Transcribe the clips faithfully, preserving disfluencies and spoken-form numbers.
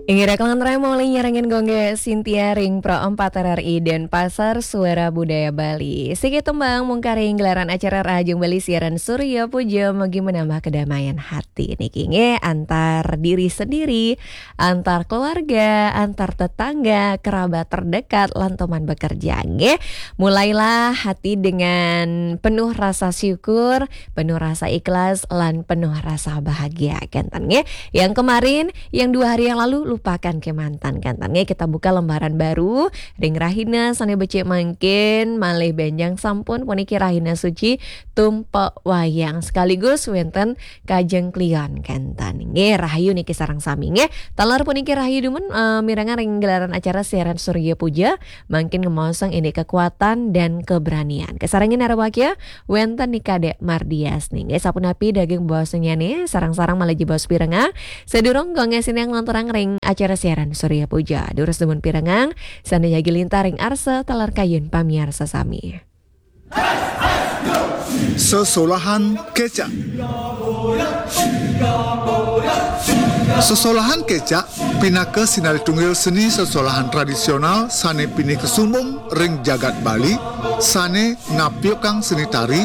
Inggih, kalangan raya maulah nyarengin Gongga Sintia ring Pro empat R R I Denpasar, Suara Budaya Bali. Siki tembang mungkaring gelaran acara Rahajeng Bali siaran Surya Puja, mugi menambah kedamaian hati niki nggih, antar diri sendiri, antar keluarga, antar tetangga, kerabat terdekat, lan teman bekerja nggih. Mulailah hati dengan penuh rasa syukur, penuh rasa ikhlas, lan penuh rasa bahagia kenten nggih. Yang kemarin, yang dua hari yang lalu, lupakan ke mantan kenten nggih. Kita buka lembaran baru ring rahina sane becik mangkin, malih benjang sampun puniki rahina suci Tumpek Wayang, sekaligus wenten Kajeng Kliwon kenten nggih. Rahayu niki sareng sami nggih. Taler puniki rahayu dumun, eh, mirengang ring gelaran acara siaran Surya Puja, mangkin ngemaosang indik kekuatan dan keberanian. Kasarengin arep wakia, wenten nika Dek Mardias nggih. Sapunapi daging baosnyane, sareng-sareng malih jebos pirengang. Sadurung Gongga Sintia nglanturang ring acara siaran Surya Puja, durus dumun pirengang sane jagi lintar ring arsa taler kayun pamiarsa sami. Sesolahan kecak. Sesolahan kecak pinaka sinalih tunggil seni sesolahan tradisional sane pinih kesumbung ring jagat Bali, sane ngapiukang seni tari,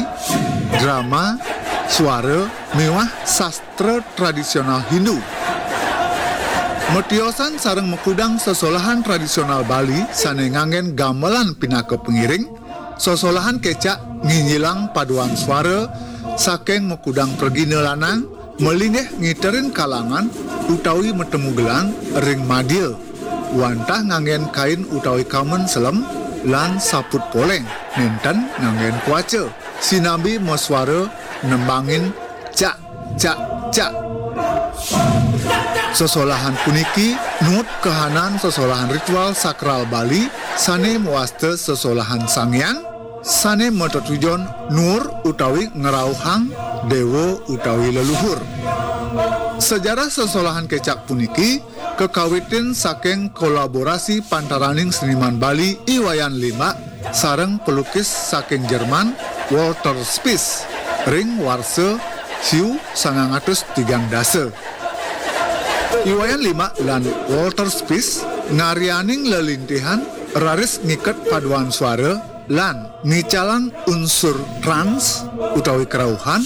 drama, suara, miwah sastra tradisional Hindu. Matiosan sareng makudang sesolahan tradisional Bali sane nganggen gamelan pinaka pengiring, sesolahan kecak nginjilang paduan suara saking makudang pragina lanang, malinggih ngiterin kalangan utawi matemu gelang ring madia, wantah nganggen kain utawi kamen selem lan saput poleng, nenten nganggen kuaca, sinambi masuara nembangin cak, cak, cak. Sesolahan puniki nuut kahanan sesolahan ritual sakral Bali sane mawasta sesolahan Sang Hyang, sane matetujon nuur utawi ngrauhang dewa utawi leluhur. Sejarah sesolahan kecak puniki kakawitin saking kolaborasi pantaraning seniman Bali I Wayan Limbak sareng pelukis saking Jerman Walter Spies ring warsa siu sangang atus tigang dasa. I Wayan Limbak lan Walter Spies ngaryaning lelintihan raris ngiket paduan suara lan ngicalang unsur trans utawi kerauhan,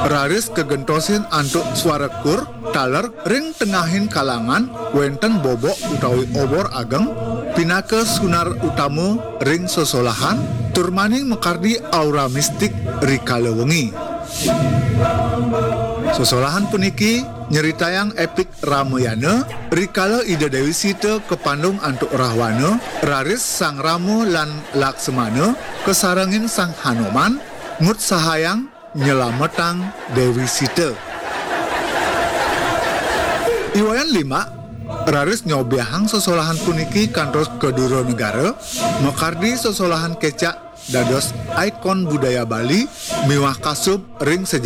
raris kagentosin antuk suara kur taler ring tengahing kalangan wenten bobok utawi obor ageng pinaka sunar utama ring sesolahan, tur maning makardi aura mistik rikala wengi. Sesolahan puniki nyeritayang epik Ramayana, rikala Ida Dewi Sita kapandung antuk Rahwana, raris Sang Rama lan Laksmana kasarengin Sang Hanuman ngutsahayang nyelametang Dewi Sita. I Wayan Limbak raris nyobiahang sesolahan puniki kantos ka dura negara, makardi sesolahan kecak dados ikon budaya Bali miwah kasub ring sajebos